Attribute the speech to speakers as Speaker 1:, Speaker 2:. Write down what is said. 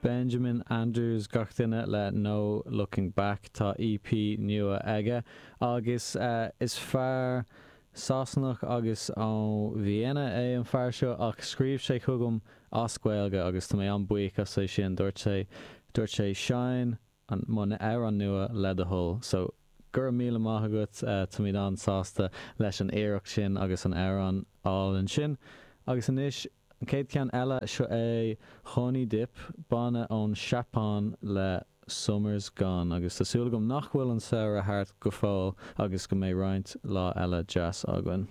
Speaker 1: Benjamin Andrews gach duine le No Looking Back. Tá EP nua aige agus is fear Sasanach agus ó Vienna é an fear seo ach scríobh sé chugam as Gaeilge agus tá mé an-buíoch as é sin. Dúirt sé, dúirt sé seinn an, mo amhrán nua le do thoil. So, go raibh míle maith agat, táimid an-sásta leis an iarracht sin agus an amhrán álainn sin. Agus anois, an chéad cheann eile, seo é Honey Dip, banna ón Seapáin le Summer's Gone. Agus tá súil agam nach bhfuil an samhradh thart go fóill agus go mbeidh roinnt lá eile deas againn.